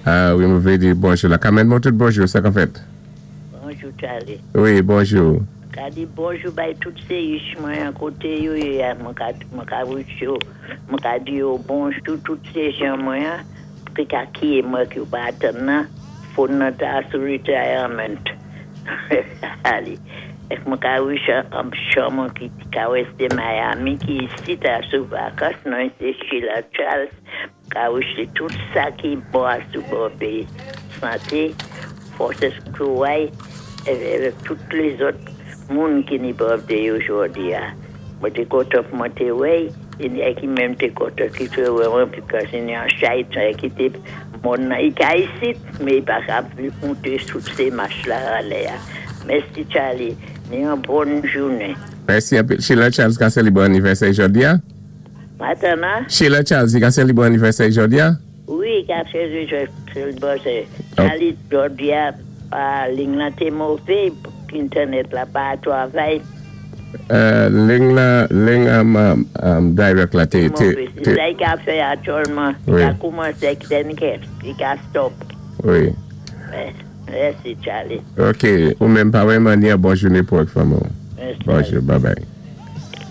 Wi, mwen vlé di bonjou la. Carmen Montout, bonjou, sa ka fèt? Bonjou, Charlie. Wi, bonjou. Ka di bonjou bay tout CH mwen an koté yo yé a, mwen ka wish yo, mwen ka di yo bonjou tout sé jan mwen an, ki ka kiye mwen ki pa atan nan, phone nan ta sou retirement. Ali. Ek mwen ka wish an chan mwen ki ka weste Miami, ki isi ta sou vakans, nan se Sheila Charles, ka wish li tout sa ki bon a sou birthday. Santé, fòs kouray, avèk tout lézòt moun ki ni birthday jòdi a. Mwen té kontan pou mwen té wè, é ki menm té kontan ki té wè mwen, because ni an chay ki té moun nan i ka isit, mé i pa ka monté sou sé mach la anlè a. Mèsi, Charlie, ni yon bòn jounen. Mèsi anpil. Sheila Charles ka sélibwé anivèsè jòdi a? Matennan? Sheila Charles, i ka sélibwé anivèsè jòdi a? Wi, ka fè sélibwé. Charlie, jòdi a, liy lan té mové, entènèt la pa travay. Liy la, liy direct la té, té, Sa i ka fè aktyèlman, i ka koumansé then i ka stop. Wi. Mèsi, Charlie. Ok, ou menm pa wè manyè, bòn jounen pou ak fanmi. Mèsi. Bonjou, bye bye.